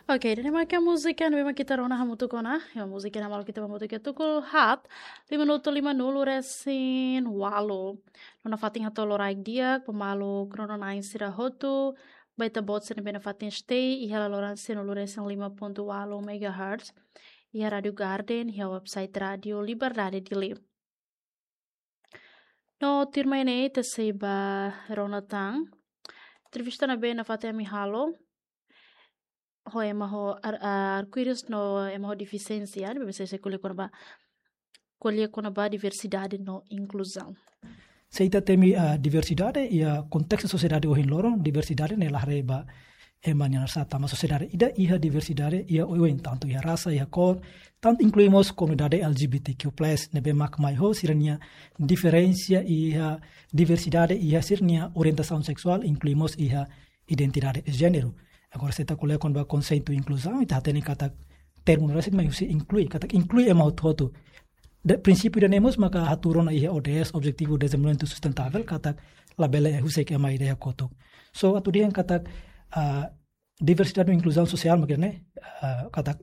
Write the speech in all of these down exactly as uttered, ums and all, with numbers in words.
Oke, ida-ne'e mak múzika ne'ebé mak ita rona hamutuk ona. Ya, múzika ne'e mak ita hamutuk iha tuku haat, lima minutu lima nulu resin ualu. No nafatin hato'o loraik di'ak ba maluk rona-na'in sira hotu, ba ita-boot sira ne'ebé nafatin stay iha laloran sianulu resin lima pontu ualu megahertz iha Rádio Garden, iha website Rádio Liberdade Dili. No tuirmai ne'e ita sei ba rona tan entrevista ne'ebé nafatin ami halo ho ema ho ar-, ar-, arkuíris no ema ho defisiénsia, ne'ebé sei ko'alia kona-ba, ko'alia kona-ba diversidade no inkluzaun. Se ita temi, ah, diversidade iha kontestu sosiedade ohin loron, diversidade ne'e la haree ba ema nia nasaun, tanba sosiedade ida iha diversidade iha oioin, tantu iha rasa, iha kór, tantu inklui mós komunidade L G B T Q plus, ne'ebé mak mai ho sira-nia diferensa iha diversidade iha sira-nia orientasaun seksuál, inklui mós iha identidade de jéneru. Agora, se ita ko'alia kona-ba konseitu inkluzaun, ita hatene katak termu ne'e rasik mai husi inklui, katak inklui ema hotu-hotu. Prinsípiu ida-ne'e mós maka hatuur ona iha O D S, Objetivu Dezenvolvimentu Sustentável, katak labele husik ema ida iha kotuk. So, atu dehan katak, ah, diversidade no inkluzaun sosiál mak ne'e, ah, katak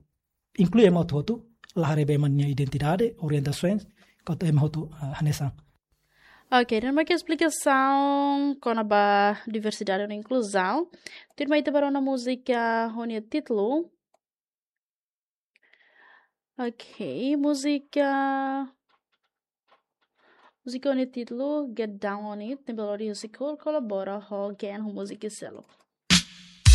inklui ema hotu-hotu, la haree ba ema nia identidade, orientasaun, katak ema hotu, ah, hanesan. Oke, ida-ne'e mak esplikasaun kona-ba diversidade no inkluzaun. Tuirmai ita ba rona múzika ho nia títulu. Oke, múzika, múzika ho nia títulu Get Down on It, ne'ebé lori husi Kur, kolabora ho Gen ho múzika seluk.